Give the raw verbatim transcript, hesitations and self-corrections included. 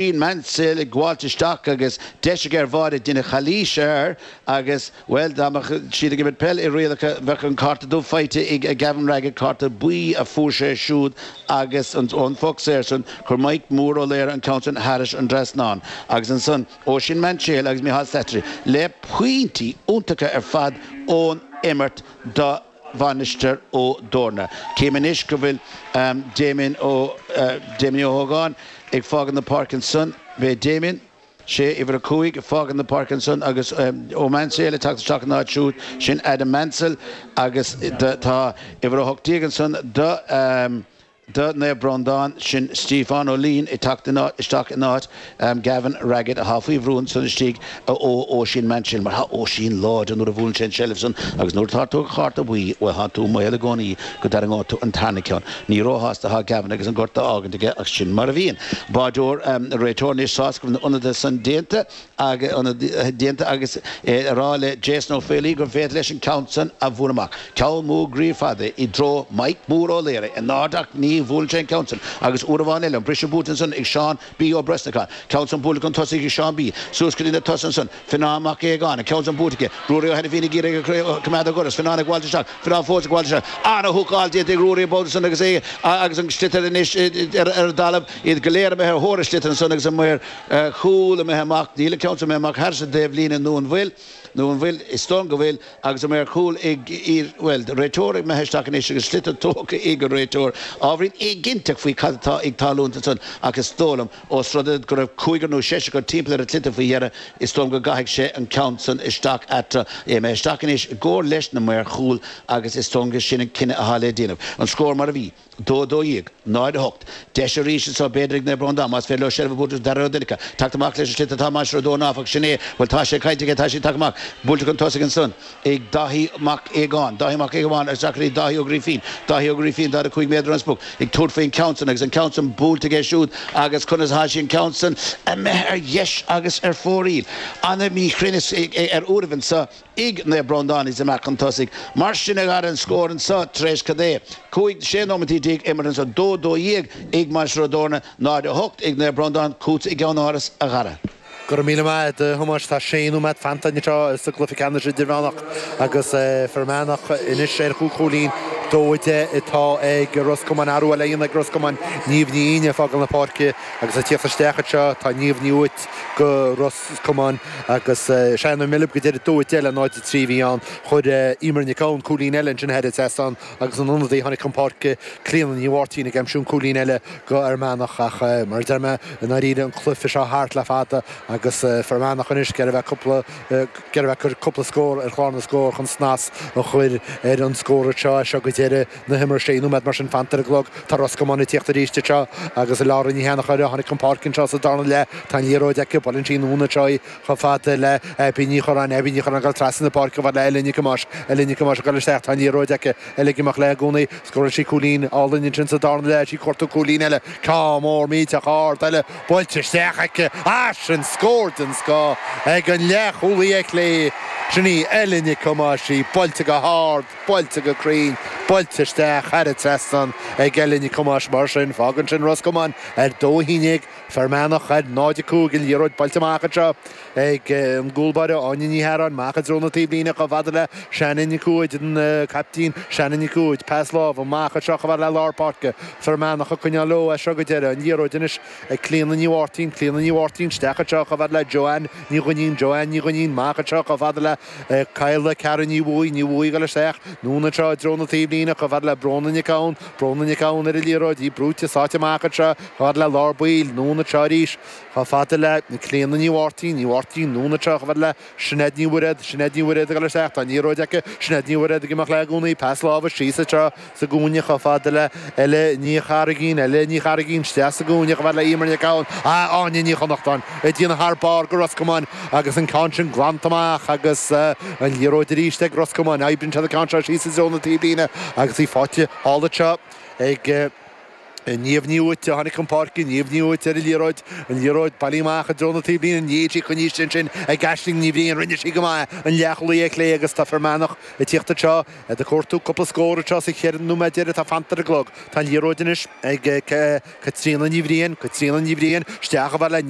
Mansell ag gabháilt isteach agus deis aige ar bháide duine calaois air agus, bhuel, dá mbeadh siad ag imirt peil i rialacha bheadh an cárta dubh faighte ag Gavin Raggett, cárta buí a fuair sé siúd agus an ón phoc saor san chuir Mike Mór Ó Laoire an ceann san thairis an trasnán agus ansan Oisín Mansell agus Micheál Slattery le pointí iontacha ar fad ón imirt do Mhainistir Ó dTorna. Cím anois go bhfuil Damien Ó Damien Ó hÓgáin ag fágáil na páirce ansan. Beidh Damien, sé uimhir a cúig, ag fágáil na páirce ansan agus Ó Mansell ag teacht isteach ina áit siúd, sin Adam Mansell agus tá uimhir a hocht déag ansan do do Naomh Breandán, sin Stiofán Ó Laoin ag teacht isteach in áit Gavin Raggett atá faoi bhrú ansan istigh ó Oisín Mansell mar tá Oisín láidir nuair a bhuaileann sé an tseilbh san agus nuair atá tú ag cárta buí, bhuel tá tú i mbaol i gcónaí go dtarraingeoidh tú an tarna ceann. Ní róshásta atá Gavin agus an gortú á fhágaint aige ach sin mar a bhíonn. Báideoir, réiteoir anois sásta go bhfuil na ionadaithe san déanta. déanta agus é a rá le Jason Ó Faolaí gur féidir leis an ceann san a bhualadh amach. Ceann mór groí fada i dtreo Mike Mór Ó Laoire in airde ach ní bhuaileann sé an ceann san agus uair amháin eile an briseadh buailte ansan ag Seán B Ó Brosnacháin. Ceann san buailte chun tosaigh ag Seán B. Suas go dtí na tosaithe ansan. Fionnán Mac Aogáin. An ceann san buailte aige. Ruairí Ó hAinifín ag iarraidh a choimeád ó dhoras. Fionnán ag gabháilt isteach. Fionnán fós ag gabháilt isteach. Ana-húcáil déanta ag Ruairí an babhta san agus é agus an sliotar anois ar an dtalamh. Iad go léir imithe ar thóir an tsliotair ansan agus an maor chúil imithe amach. Níl an ceann seo imithe amach thairis an dtaobhlíne nó an bhfuil? Nó an bhfuil? Is dóigh liom go bhfuil agus an maor cúil ag iar, bhuel, réiteoir imithe isteach anois agus sliotar tógtha ag an réiteoir. Ábhairín éiginnteach faoi cad atá ag tarlúint ansan ach is dóigh liom, ós rud é go raibh cúigear nó seisear acu timpeall ar an tsliotar faoi dheireadh, is dóigh liom go gcaithfidh sé an ceann san isteach eatarthu. É imithe isteach anois i gcomhar leis na maoir chúil agus is dóigh liom gur sin an cinneadh atá le déanamh. An scór mar a bhí. dó a dó dhéag, náid a hocht. Deis arís anseo b'fhéidir ag Naomh Breandán más féidir leo seilbh a bhualadh Darragh Ó Donnchadha. Teacht amach leis an sliotar atá Mainistir Ó dTorna áfach, sin é. Bhuel tá sé caillte aige, tá sé ag teacht amach. Buailte chun tosaigh ansan ag Dáithí Mac Aogáin. Dáithí Mac Aogáin isteach go dtí Dáithí Ó Grífín. Dáithí Ó Grífín daichead a cúig méadar ón sprioc ag tabhairt faoin ceann san agus an ceann san buailte aige siúd agus conas atá sé an ceann san imithe ar dheis agus ar fóraoil. Ana-mhíchruinneas ar uairibh anseo. ag Naomh Breandán is amach chun tosaigh. Mar sin a dhara an scór anseo tar éis cad é, cúig, sé nóimeataí déag imeartha anseo, dó, dó dhéag ag Mainistir Ó dTorna, náid a hocht ag Naomh Breandán, chugatsa i gceann Áras, a Dhara. Go raibh míle maith agat, a Thomáis. Tá sé nóiméad fanta anseo sa gcluiche ceannais idirmheánach agus Fear Manach anois ar chúig chúilín, dó a deich atá ag Ros Comáin. Athrú eile á dhéanamh ag Ros Comáin, Niamh Ní Fhinn ag fágáil na páirce agus ag tíocht isteach anseo tá Niamh Ní Uait go Ros Comáin agus sea nó milib go deireadh dó a deich le náid a trí a bhí ann. Chuir Emer Nic Gabhann cúilín eile ansin thar an trasnán agus an ionadaí a tháinig chun páirce, Clíona Ní Mháirtín ag aimsiú an cúilín eile go Fhear Manach ach mar a deir mé i ndáiríre an cluiche seo thart le fada agus Fear Manach anois ag iarraidh a bheith cúpla ag iarraidh a bheith ag cur cúpla scór ar chlár na scór chun snas a chur ar an scór anseo as seo go deireadh na himeartha. Sé nóiméad mar sin fanta ar an gclog. Tá Ros Comáin ag tíocht arís anseo agus Laura Ní Sheanchóir a tháinig chun páirce anseo sa darna leath. Tá an liathróid aici, buaileann sí anonn anseo í chomh fada le Aibí Ní Churráin. Aibí Ní Churráin ag dul trasna na páirce chomh fada le Ella Nic Thomáis. Ella Nic Thomáis ag dul isteach. Tá an liathróid aici. Ella ag imeacht léi i gcónaí. Scóráil sí cúilín álainn ansin sa darna leath. Is í ag cuartú cúilín eile. Ceann mór millteach ard eile buailte isteach aici. Ah, sin scór den scoth ag an leathchúlaí ar chlé. Sin í Ella Nic Thomáis. Í buailte go hard. Buailte go cruinn, buailte isteach thar an trasnán ag Ella Nic Thomáis. Mar sin, fágann sin Ros Comáin ar dó a haon déag, Fear Manach ar náid a cúig, an liathróid buailte amach anseo ag an gcúlbáire Áine Ní Hearáin, amach i dtreo na taobhlíne chomh fada le Shannon Nic Uaid, an caiptín Shannon Nic Uaid, pas láimhe amach anseo chomh fada le lár páirce, Fear Manach ag coinneáil leo as seo go deireadh, an liathróid anois ag Clíona Ní Mháirtín, Clíona Ní Mháirtín isteach anseo chomh fada le Joanne Ní Dhuinnín, Joanne Ní Dhuinnín amach anseo chomh fada le Cadhla Ceara Ní Bhuaidh, Ní Bhuaidh ag dul isteach, anonn anseo i dtreo na taobhlíne, chomh fada le Bróna Nic Gabhann, Bróna Nic Gabhann ar an liathróid, í brúite sáite amach anseo, chomh fada le lár baill, anonn anseo arís, chomh fada le Clíona Ní Mháirtín, Ní Mháirtín, anonn anseo, chomh fada le Sinéad Ní Mhuiréad, Sinéad Ní Mhuiréad ag dul isteach, tá an liathróid aici, Sinéad Ní Mhuiréad ag imeacht léi i gcónaí, pas láimhe síos anseo sa gcúinne chomh fada le Ella Ní Charraigín, Ella Ní Charraigín isteach sa gcúinne chomh fada le Emer Nic Gabhann, ah, Áine Ní Chonnachtáin ag déanamh thar barr go Ros Comáin agus an ceann sin glanta amach agus an liathróid arís ag Ros Comáin. Oibríonn siad an ceann seo síos i dtreo na taobhlíne agus í faighte thall anseo ag Niamh Ní Uait tháinig an páirce Niamh Ní Uait ar an liathróid an liathróid bailithe amach i dtreo na taobhlíne ní sí choníiste sin ag Aisling Ní Bhriain rinne sí go maith an leathchúlaí clé agus tá Fear Manach ag tíocht anseo ag cuartú cúpla scór anseo sa cheithre nóiméad deiridh atá fanta ar an gclog. Tá an liathróid anois ag Caitríona Ní Bhriain, Caitríona Ní Bhriain, isteach a bheith le